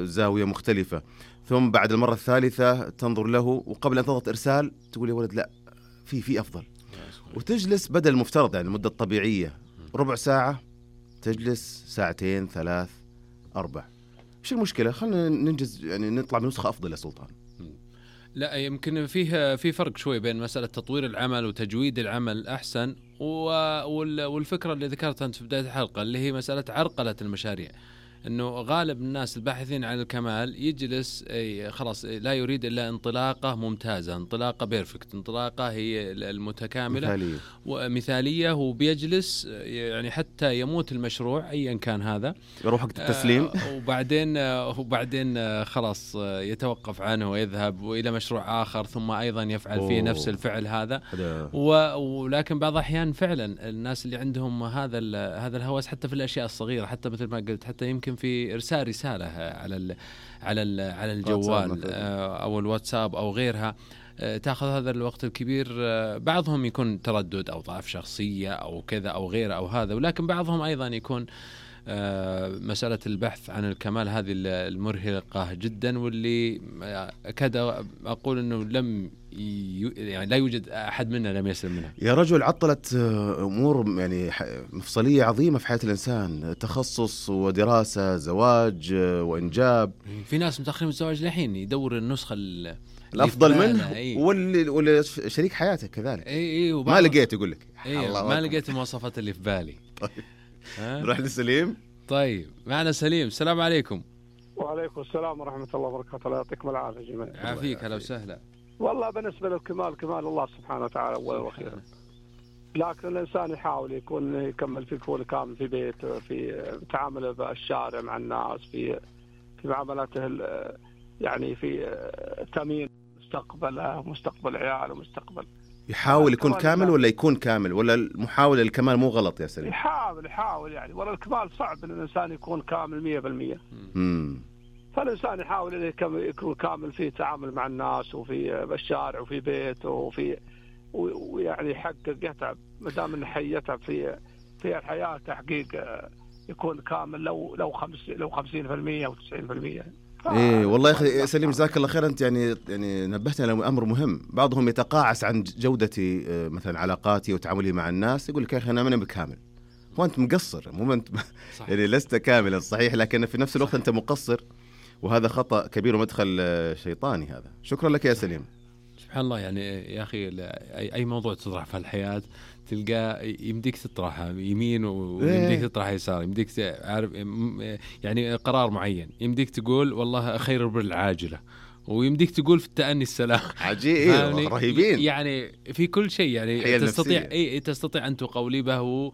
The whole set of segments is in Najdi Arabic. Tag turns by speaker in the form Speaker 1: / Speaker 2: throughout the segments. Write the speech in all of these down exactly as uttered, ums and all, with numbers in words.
Speaker 1: زاوية مختلفة، ثم بعد المرة الثالثة تنظر له وقبل أن تضغط إرسال تقول يا ولد لا في في أفضل، وتجلس بدل المفترض يعني المدة الطبيعية ربع ساعة تجلس ساعتين ثلاث أربع. إيش المشكلة؟ خلنا ننجز يعني نطلع بنسخة أفضل يا سلطان.
Speaker 2: لا يمكن فيه في فرق شوي بين مسألة تطوير العمل وتجويد العمل أحسن، والفكرة اللي ذكرتها أنت في بداية الحلقة اللي هي مسألة عرقلة المشاريع، إنه غالب الناس الباحثين عن الكمال يجلس خلاص لا يريد إلا انطلاقة ممتازة، انطلاقة بيرفكت، انطلاقة هي المتكاملة
Speaker 1: مثالية.
Speaker 2: ومثالية، وبيجلس يعني حتى يموت المشروع أيا كان هذا،
Speaker 1: يروح وقت التسليم
Speaker 2: آه وبعدين آه وبعدين آه خلاص آه يتوقف عنه ويذهب إلى مشروع آخر ثم أيضا يفعل أوه. فيه نفس الفعل هذا. ولكن بعض الأحيان فعلا الناس اللي عندهم هذا هذا الهوس حتى في الأشياء الصغيرة، حتى مثل ما قلت حتى يمكن في إرسال رسالة على ال على ال على الجوال أو الواتساب أو غيرها، تأخذ هذا الوقت الكبير. بعضهم يكون تردد أو ضعف شخصية أو كذا أو غيره أو هذا، ولكن بعضهم أيضا يكون مسألة البحث عن الكمال هذه المرهقة جدا، واللي أكاد أقول أنه لم يعني لا يوجد أحد منا لم يسلم منها.
Speaker 1: يا رجل عطلت أمور يعني مفصلية عظيمة في حياة الإنسان، تخصص ودراسة، زواج وإنجاب.
Speaker 2: في ناس متأخرين من الزواج لحين يدور النسخة
Speaker 1: الأفضل منه أيه. واللي واللي شريك حياته كذلك
Speaker 2: أي أي
Speaker 1: ما لقيت يقول لك
Speaker 2: أيه ما لقيت المواصفات اللي في بالي.
Speaker 1: طيب نروح لسليم.
Speaker 2: طيب معنا سليم، السلام عليكم.
Speaker 3: وعليكم السلام ورحمة الله وبركاته. الله يعطيكم العافية جميعا.
Speaker 2: عافيك، هلا وسهلا.
Speaker 3: والله بالنسبة للكمال كمال الله سبحانه وتعالى أولا وأخيرا، لكن الإنسان يحاول يكون يكمل في كل كامل في بيته، في تعامله بالشارع مع الناس، في في معاملاته يعني في تأمين مستقبله مستقبل عياله مستقبل.
Speaker 1: يحاول يكون كامل ولا يكون كامل، ولا المحاولة الكمال مو غلط يا سليم؟
Speaker 3: يحاول يحاول يعني، ولا الكمال صعب إن الإنسان يكون كامل مية بالمية. فالإنسان يحاول إنه يكون كامل في تعامل مع الناس وفي بالشارع وفي بيته وفي ويعني يحقق يتعب ما دام إنه يتعب في في الحياة تحقيق يكون كامل لو لو خمس لو خمسين بالمية أو تسعين بالمية.
Speaker 1: إيه والله يا أخي سليم جزاك الله خير. أنت يعني يعني نبهتنا لأمر مهم. بعضهم يتقاعس عن جودتي مثلا علاقاتي وتعاملي مع الناس، يقول لك يا أخي أنا ماني بكامل، وأنت مقصر. مو أنت يعني لست كاملا صحيح، لكن في نفس الوقت أنت مقصر، وهذا خطأ كبير ومدخل شيطاني هذا. شكرا لك يا سليم.
Speaker 2: سبحان الله يعني يا أخي أي موضوع تطرح في الحياة تلقى يمديك تطرحها يمين ويمديك تطرحها يسار، يمديك تعرف يعني قرار معين، يمديك تقول والله خير بالعاجلة، ويمديك تقول في التأني السلام.
Speaker 1: عجيب يعني
Speaker 2: رهيبين يعني في كل شيء يعني تستطيع أي تستطيع أن تقولبه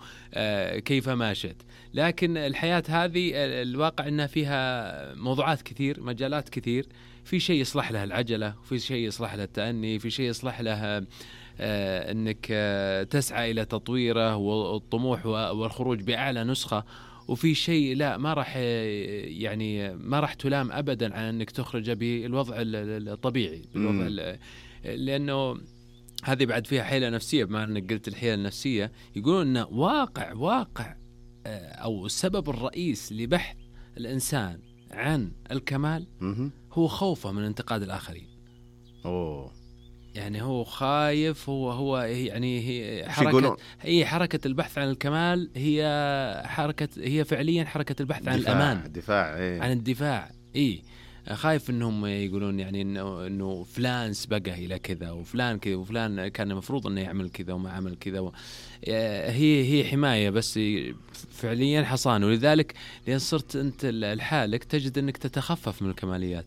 Speaker 2: كيف ما شئت. لكن الحياة هذه الواقع أنها فيها موضوعات كثير، مجالات كثير، في شيء يصلح له العجلة، وفي شيء يصلح له التأني، في شيء يصلح له آه أنك آه تسعى إلى تطويره والطموح والخروج بأعلى نسخة، وفي شيء لا ما راح يعني ما راح تلام أبدا عن أنك تخرج بالوضع الطبيعي بالوضع، لأنه هذه بعد فيها حيلة نفسية. بما أنك قلت الحيلة النفسية، يقولون أن واقع واقع آه أو السبب الرئيس لبحث الإنسان عن الكمال هو خوفه من انتقاد الآخرين.
Speaker 1: أوه.
Speaker 2: يعني هو خايف، هو هو يعني هي حركة هي حركة البحث عن الكمال، هي حركة هي فعليا حركة البحث عن الأمان،
Speaker 1: الدفاع إيه؟
Speaker 2: عن الدفاع. إيه خايف إنهم يقولون يعني إنه إنه فلان سبقه إلى كذا وفلان كذا وفلان كان المفروض إنه يعمل كذا وما عمل كذا و... هي هي حماية بس فعليا حصان. ولذلك لأن صرت أنت لحالك تجد إنك تتخفف من الكماليات،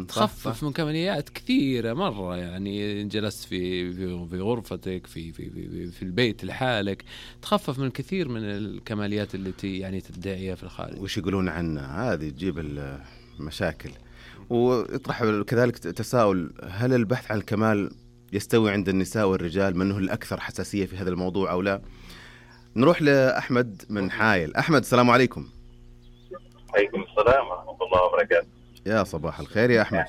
Speaker 2: تخفف من كماليات كثيرة مرة. يعني جلست في في, في غرفتك في, في في في البيت لحالك تخفف من الكثير من الكماليات التي يعني تدعيها في الخارج.
Speaker 1: وش يقولون عنها هذه تجيب المشاكل. ويطرح كذلك تساؤل: هل البحث عن الكمال يستوي عند النساء والرجال؟ من هو الأكثر حساسية في هذا الموضوع أو لا؟ نروح لأحمد من حايل. أحمد السلام عليكم.
Speaker 4: عليكم السلام ورحمة الله وبركاته.
Speaker 1: يا صباح الخير يا أحمد.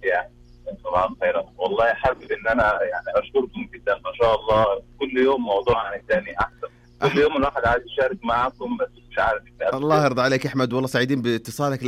Speaker 4: يا صباح الخير. والله حابب إن أنا يعني أشكركم جدا، ما شاء الله كل يوم موضوع عن الثاني أحسن. كل يوم الواحد عايز يشارك معكم، بس مش عارف.
Speaker 1: الله يرضى عليك احمد، والله سعيدين باتصالك، لكن